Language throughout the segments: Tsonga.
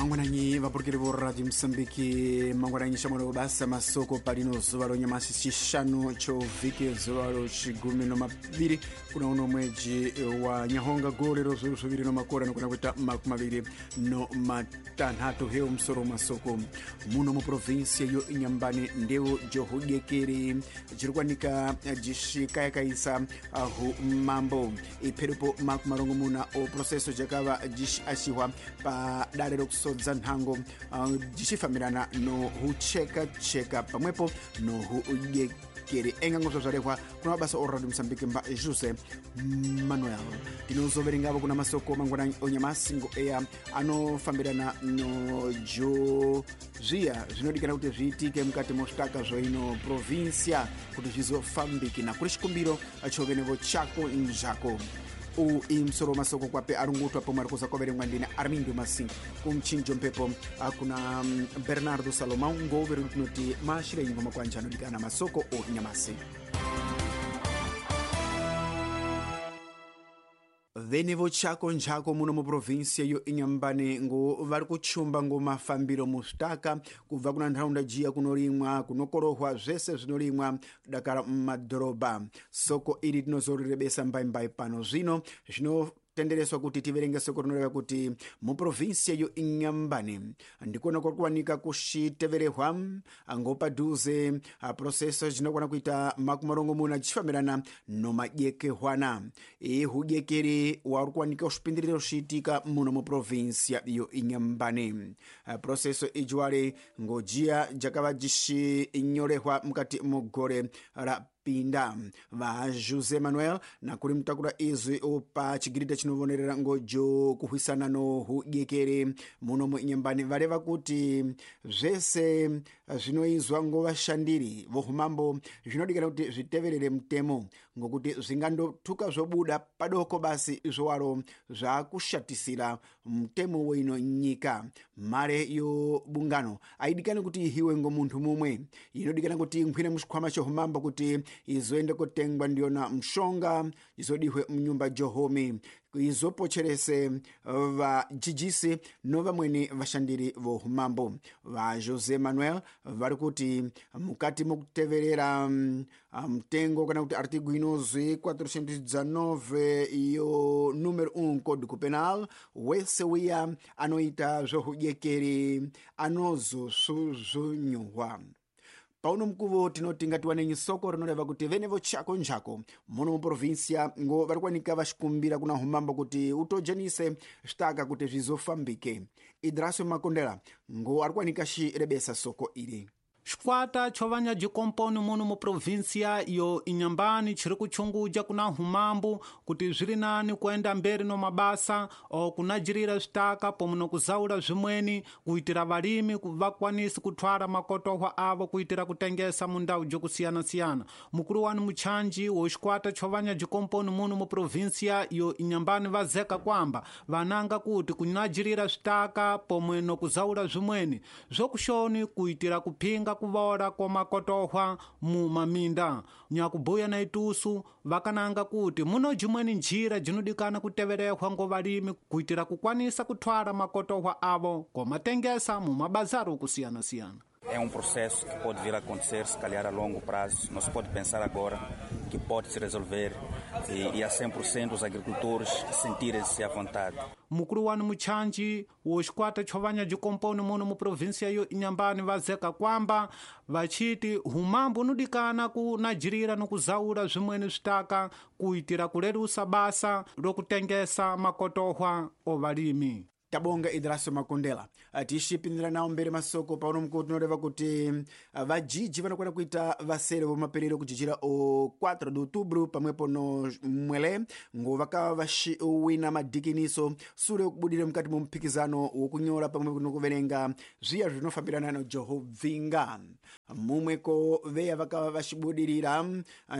Mangwananyi vapurukiri vo Radio Mosambiki, mangwananyi shamwari basa masoko palino zuva lonyamasi chishanu chovhiki zuva lochigumi no maviri kuna uno mweji wa nyahonga gore ro zviuru zviviri no makore anokwana kuita 25. Hewo musoro masoko muno muprovinsia yo Inhambane ndeu johudekeri jiri kuwanika jishikayakaisa humambo ipherupo 60 o processo jakava jishiashiwa pa dare rokusodza nhango jichifambirana nohuchekacheka pamwepo nohudyekeri enga ngozvo zvarehwa kuna mabasa o Radio Mosambiki mba José Manuel. Tinozoverengavo kuna masoko mangwanani onyamasi ngo eya anofambirana nojo zviya zvinodikana kuti zviitike mukati mosvitaka zvoino provinsia kuti zvizofambike nakuri chikumbiro chovenevo chako nzvako. U imusoro masoko kwape arungutwa pomwe ari kuza kwaverengwa ndine Armindo Masinga kumchinjo mphepo kuna Bernardo Salomão ngoveri tinoti maashirenyi ngoma kwanja anodikana masoko o nyamasi. Venevo chako nchako muno muprovinsia yo Inhambane ngo vari kuchumba ngo mafambiro musvitaka kubva kuna ntharaunda jiya kunorimwa kunokorohwa zvese zvinorimwa dakara mumadhorobha. Soko iri tinozorirebesa mbaimbai pano zvino zvinotendereswa kuti tiverenge soko rinoreva kuti muprovinsia yo Inhambane ndikona kuri kuwanika kuxiteverehwa ngo padhuze processo jinokwana kuita 60 jichifambirana nomadyekehwana. Ihudyekeri wauri kuwanika uxipindiriro xiitika muno muprovinsia yo Inhambane. Processo ijiwale ngojiya jakava jixinyorehwa mukati mugore ra pinda. Va José Manuel nakuri mutakura izwi pa chigirita chinovonerera ngojo kuhwisana nohudyekeri muno muInhambane vareva kuti zvese zvinoizwa ngo vashandiri vohumambo zvinodikana kuti zviteverere mutemo ngokuti zvingandotuka zvobuda padoko basi izvowaro zvakushatisira mutemo weino nyika. Mare yo bungano aidikani kuti ihiwe ngo munthu mumwe, inodikana kuti inkhwine muxikhwama chohumambo kuti izoende kotengwa ndiyona mshonga izodihwe mnyumba johome izopocherese vajijisi no vamweni vashandiri vohumambo. Va José Manuel vari kuti mukati mokuteverera mtengo kana kuti artigo inozwi 419 yo número 1 código penal, wese wiya anoita zvohudyekeri anozosuzvunyuhwa. Pauno mukuvo tinoti ngatiwanenyi soko rinoreva kuti venevo chako nchako muno muprovinsia ngo vari kuwanika vaxikumbira kuna humambo kuti utojenise zvitaka kuti zvizofambike. Idrasio Makondela ngo ari kuwanika xirebesa soko iri. Xikwata cho vanyajikomponi muno muprovinsia yo Inhambane chiri kuchunguja kuna humambo kuti zviri nani kuenda mberi no mabasa o kunajirira zvitaka pomwe nokuzaula zvimweni kuitira valimi vakwanisi kuthwara makotohwa avo kuitira kutengesa mundau jokusiyana-siyana. Mukulu wani muchanji wo xikwata cho vanyajikomponi muno muprovinsia yo Inhambane vazeka kwamba vananga kuti kunajirira zvitaka pomwe nokuzaula zvimweni zvokushoni kuitira kuphinga kuvola kwa makotohwa mu maminda. Nyakubuya na itusu vakananga kuti muno jimweni njira jinodikana kuteverehwa ngo valimi kuitira kukwanisa kuthwala makotohwa avo komatengesa mu mabazari okusiyana-siyana. É um processo que pode vir a acontecer, se calhar a longo prazo. Não se pode pensar agora que pode se resolver e a 100% os agricultores sentirem-se à vontade. Mukulu wani muchanji wo xikwata cho vanyajikomponi muno muprovinsia yo Inhambane vazeka kwamba vachiti humambo unodikana kunajirira nokuzaula zvimweni zvitaka kuitira kulerusa basa lokutengesa makotohwa ovalimi. Tabonga Idrasio Makondela. Tixipindira nawo mberi masoko pauno mukuwo tinoreva kuti vajiji vanokwana kuita vasere vomaperero kujijira o 4 de outubro pamwepo no mwele ngo vakava vaxiwina madhikiniso sure yokubudira mukati mo muphikizano wokunyora pamwepo nokuverenga zviya zvinofambirana no johovhinga. Mumweko veya vakava vaxibudirira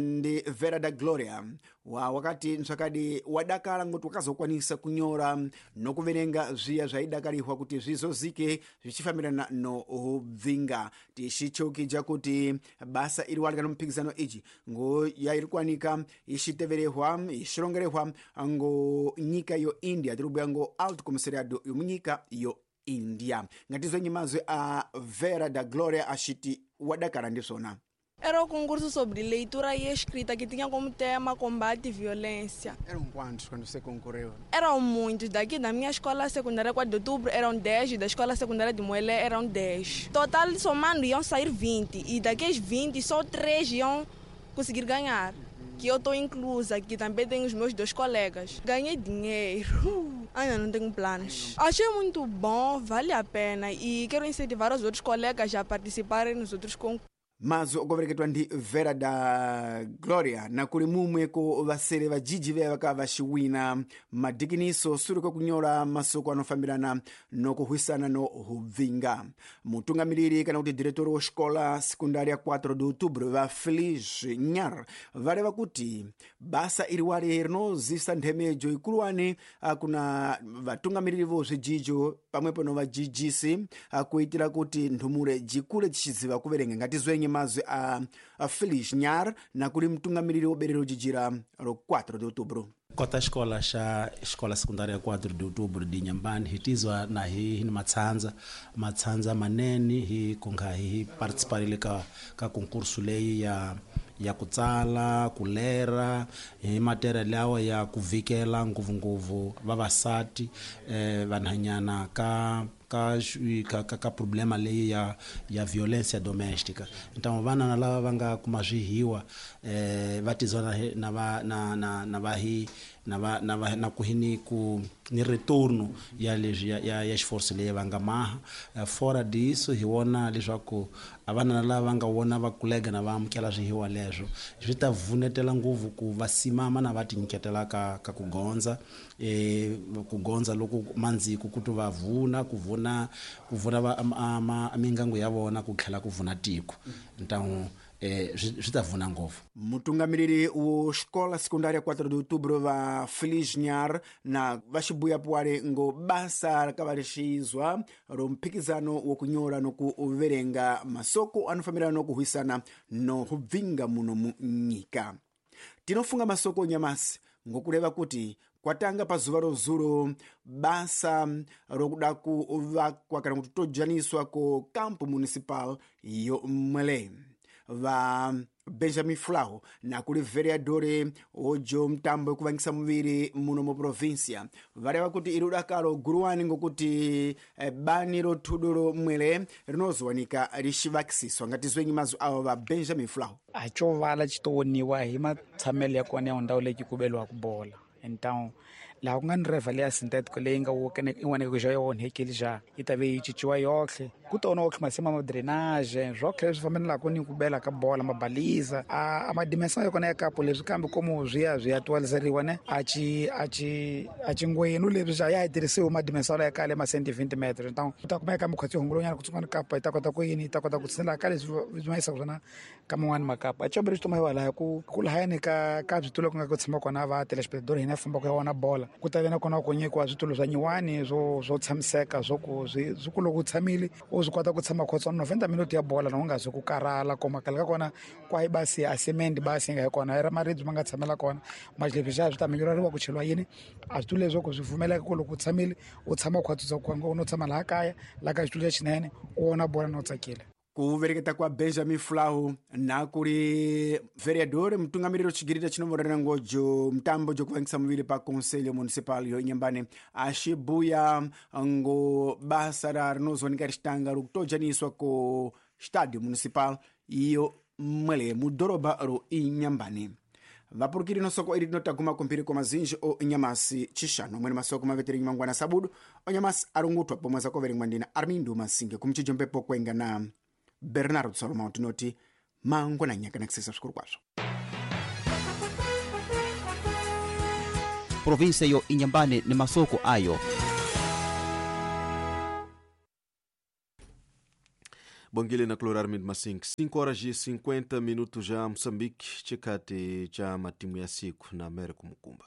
ndi Vera da Gloria wa wakati ntsvakadi wadakala ngoti wakazokwanisa kunyora nokuverenga zviya zvaidakarihwa kuti zvizozike zvichifambirana noubvinga. Tichicheukija kuti basa iri walika nomuphikizano iji ngo yairi kuwanika ichiteverehwa ichirongerehwa ngo nyika yo India, tiri kubhuya ngo Alto Comissariado yomunyika yo India. Ngatizwenyi mazwi a Vera da Gloria axiti wadakala ndiswona. Era o concurso sobre leitura e escrita que tinha como tema combate e violência. Eram quantos quando você concorreu? Eram muitos. Daqui da minha escola secundária 4 de outubro eram 10, da escola secundária de Moelé eram 10. Total, somando, iam sair 20. E daqueles 20, só 3 iam conseguir ganhar. Que eu estou inclusa, que também tenho os meus 2 colegas. Ganhei dinheiro. Ainda não tenho planos. Achei muito bom, vale a pena. E quero incentivar os outros colegas a participarem nos outros concursos. Mazo okuvereketwa ndi Vera da Gloria nakuli mumwe ko vasere vajiji veya vakava vaxiwina madikiniso suri kwakunyola masoko anofambirana nokuhwisana no hubvinga. Mutungamiriri kana kuti diretori wa xikola sekundária 4 de outubro va Feliz Nyar vareva kuti basa iriwari rinozisa nthemejo ikuluwani kuna vatungamiriri vo zvijijo pamwepo no vajijisi kuitira kuti nthumure jikule jixiziva kuverenga. Ngatizwenye mazwi a Feliz Nyar nakuli mtungamiriri woberero jijira ro 4 de outubro. Kota xikola xa xikola secundária 4 de outubro de Inhambane hitizwa na hi ni matsandza manene hi kunga hi participarile ka concurso leyi ya ku tsala, ku lera hi matere lawa ya ku vikela ngopfungopfu vavasati vanhanyana ka problema leyi ya violência doméstica. Então vana lava va nga kuma swihiwa va tizwa na va na na na va hi na va na va na ku hini ku ni retorno ya leswi ya xiforce leyi va nga maha. Fora disso hi vona leswaku a vana lava va nga vona va kulega na va amukela swihiwa leswo swi ta vunetela ngopfu ku va simama na va tinyiketela ka ku gondza ku gondza loko mandziku ku to va vuna ku vuna va mingangu ya vona ku tlhela ku vuna tiko. Então swi ta vuna ngopfu. Mutungamiriri wo xikola secundária 4 de outubro va Feliz Nyar na va xibuya puwale ngo basa rakava rixizwa ro mphikizano wo kunyola no ku verenga masoko anofambirana no kuhwisana no hubvinga muno mu nyika. Tinofunga masoko nyamasi ngokureva kuti kwatanga pazuva rozulo basa rokuda kuvakwa kana kuti tojaniswa ko campo municipal yo Mwele. Va Benjamin Flau nakuli vereadore ojo mtambo kuvangisa muviri muno mu provincia vareva kuti iri udakalo guruwani ngokuti bani rothudo ro Mwele rinozowanika rixivakisiswa. Ngatizwenyi mazwi avo va Benjamin Flau. A xo vala xi to woniwa hi matshamelo ya kona ya ndhawu leyi ku beliwaka bola. Então laha ku nga ni reva leya synthetico leyi nga in'wana xa yi onhekile xa yi ta ve yi cinciwa yohle ku tona otlhe masimu ma drainage swotlhe leswi fambelaka ni ku bela ka bola mabaliza a madimension ya kona ya kapo leswi kambe komo swi ya twaliseriwa ne a ci ngwenu leswi xa ya tirhisiwe madimension ya kale ma 120 meters. Então u ta kumeka mikhotsi hungulonyana ku tsungana kapa yi ta kota ku yini yi ta kota ku tshinela ka leswi swi ma yisaka swona ka man'wani makapa a comberi xi tuma hi ku lahayani ka switulo ku nga ku tshama kona va telespectator hina famba ku ya vona bola ku ta ve na kona ku nyikiwa switulo swa nyiwani swo tshamiseka swo ku swi ku loko u tshamile u swi kota ku tshama khotswana 90 minutes ya bola na u nga zi ku karhala koma khale ka kona kwahi basi a cement basi nga hi kona i ra maribye ma nga tshamela kona maxilebyi xa swi ta minyureriwa ku cheliwa yini a switulo leswo ku swi pfumeleka ku loko u tshamile u tshama khwatsisa ku u tshama laha kaya laha ka xitulo lexinene u vona bola na u tsakile. Ku vereketa kwa Benjamin Flau nakuli vereador mutungamiriri chigirita chinomborera ngojo mtambo jokuvangisa muviri pa conselho municipal yo Inhambane axibuya ngo basa ra rinozowanika rixitanga rokutojaniswa ko estádio municipal iyo Mwele mudhorobha ro Inhambane. Vapurukiri nosoko iri tinotaguma kumphiri kwa mazinji o Nyamasi chishanu mwene masoko maveteri mangwana sabudu o Nyamasi arungutwa pomwe zakoverengwa ndina Armindo Masinge kumchijo mpepo kwenga na Bernardo Salomão tinoti mangwana nyaka na kusesa svikuru kwazvo. Província yo Inhambane ni masoko ayo. Bongile na Clorar Masink 5 horas e 50 minutos já Moçambique chikati cha matimu ya siku na Américo Mukumba.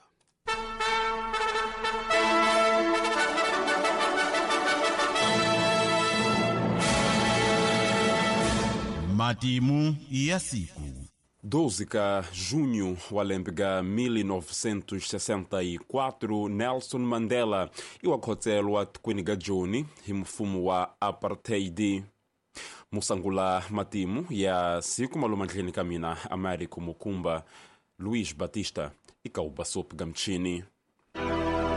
Matimu ya siku. 12 ka junho wa lembe ga 1964 Nelson Mandela iwakhotselwa tikweni ga Joni hi mfumo wa apartheid. Musangula matimu ya siku malomandleni ka mina Américo Mukumba Luís Batista ikaubasopo ga mchini.